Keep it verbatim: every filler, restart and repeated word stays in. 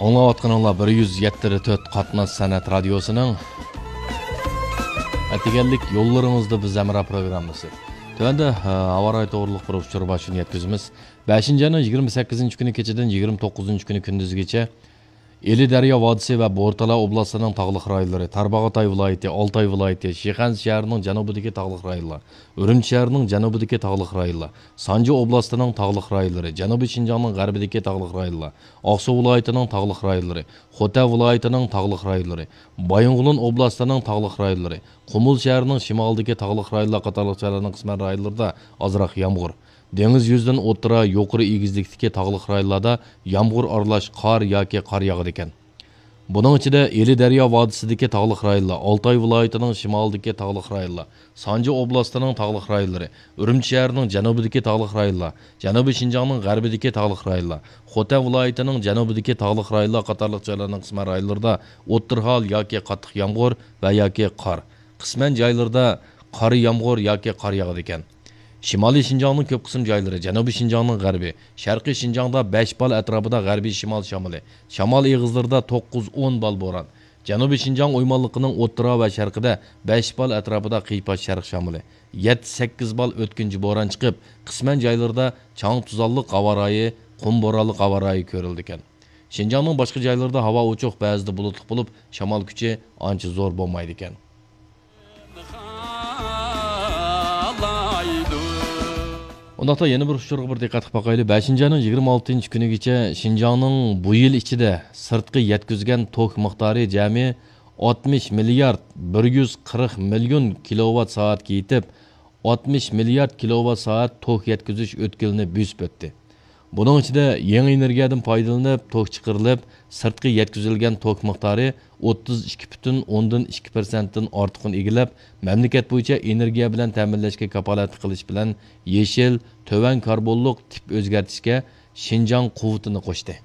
ئاڭلاۋاتقىنىڭلار بىر يۈز يەتتە تۆت قاتناش سەنئەت رادىيوسىنىڭ ئەتىگەنلىك يوللىرىڭىزدا بىز ھەمراھ پروگراممىسى. تۆۋەندە، ھە، ھاۋا رايى توغرۇلۇق بىر ئۇچۇر باشلىقىنى يەتكۈزىمىز. بەشىنچى ئاينىڭ يىگىرمە سەككىزىنچى كۈنى كېچىدىن يىگىرمە توققۇزىنچى كۈنى كۈندۈزگىچە ئىلى دەريا ۋادىسى ۋە بورتالا ئوبلاستىنىڭ تاغلىق رايونلىرى، تارباغاتاي ۋىلايىتى، ئالتاي ۋىلايىتى، شىخەنزە شەھىرىنىڭ جەنۇبىدىكى تاغلىق رايونلار، ئۈرۈمچى شەھىرىنىڭ جەنۇبىدىكى تاغلىق رايونلار، سانجى ئوبلاستىنىڭ تاغلىق رايونلىرى، جەنۇبىي شىنجاڭنىڭ غەربىدىكى تاغلىق رايونلار، ئاقسۇ ۋىلايىتىنىڭ تاغلىق رايونلىرى، خوتەن ۋىلايىتىنىڭ تاغلىق رايونلىرى، بايىنغولىن ئوبلاستىنىڭ تاغلىق رايونلىرى، قۇمۇل شەھىرىنىڭ شىمالىدىكى تاغلىق رايونلار قاتارلىق جايلارنىڭ قىسمەن رايونلىرىدا ئازراق يامغۇر. دېڭىز يۈزىدىن ئوتتۇرا، يۇقىرى ئېگىزلىكتىكى تاغلىق رايونلاردا يامغۇر ئارىلاش قار ياكى قار ياغىدىكەن. بۇنىڭ ئىچىدە ئىلى دەريا ۋادىسىدىكى تاغلىق رايونلار، ئالتاي ۋىلايىتىنىڭ شىمالىدىكى تاغلىق رايونلار، سانجى ئوبلاستىنىڭ تاغلىق رايونلىرى، ئۈرۈمچى شەھىرىنىڭ جەنۇبىدىكى تاغلىق رايونلار، جەنۇبىي شىنجاڭنىڭ غەربىدىكى تاغلىق رايونلار، خوتەن ۋىلايىتىنىڭ جەنۇبىدىكى تاغلىق رايونلار قاتارلىق جايلارنىڭ قىسمەن رايونلىرىدا ئوتتۇرا ھال ياكى قاتتىق يامغۇر ۋە ياكى قار، قىسمەن جايلىرىدا قارا يامغۇر ياكى قار ياغىدىكەن. شىمالىي شىنجاڭنىڭ كۆپ قىسىم جايلىرى، جەنۇبىي شىنجاڭنىڭ غەربى، شەرقىي شىنجاڭدا بەش بال ئەتراپىدا غەربىي شىمال شامىلى، شامال ئېغىزلىرىدا توققۇز ئون بال بوران، جەنۇبىي شىنجاڭ ئويمانلىقىنىڭ ئوتتۇرا ۋە شەرقىدە بەش بال ئەتراپىدا قىيپاش شەرق شامىلى، يەتتە سەككىز بال ئۆتكۈنچى بوران چىقىپ، قىسمەن جايلىرىدا چاڭ-توزانلىق ھاۋا رايى، قۇم بورانلىق ھاۋا رايى كۆرۈلىدىكەن. شىنجاڭنىڭ باشقا جايلىرىدا ھاۋا ئوچۇق، بەزىدە بۇلۇتلۇق بولۇپ، شامال كۈچى ئانچە زور بولمايدىكەن. ئۇنداقتا يەنە بىر ئۇچۇرغا بىر دىققەت قىلىپ باقايلى. بەشىنچى ئاينىڭ يىگىرمە ئالتىنچى كۈنىگىچە شىنجاڭنىڭ بۇ يىل ئىچىدە سىرتقا يەتكۈزگەن توك مىقدارى جەمئىي ئاتمىش مىليارد بىر يۈز قىرىق مىليون كىلوۋات سائەتكە يېتىپ، ئاتمىش مىليارد كىلوۋات سائەت توك يەتكۈزۈش ئۆتكىلىنى بۆسۈپ ئۆتتى. بۇنىڭ ئىچىدە يېڭى ئېنېرگىيەدىن پايدىلىنىپ توك چىقىرىلىپ، سىرتقا يەتكۈزۈلگەن توك مىقدارى ئوتتۇز ئىككى پۈتۈن ئوندىن ئىككى پىرسەنتتىن ئارتۇقىنى ئىگىلەپ، مەملىكەت بويىچە ئېنېرگىيە بىلەن تەمىنلەشكە كاپالەتلىك قىلىش بىلەن يېشىل، تۆۋەن كاربونلۇق تىپ ئۆزگەرتىشكە شىنجاڭ قۇۋۋىتىنى قوشتى.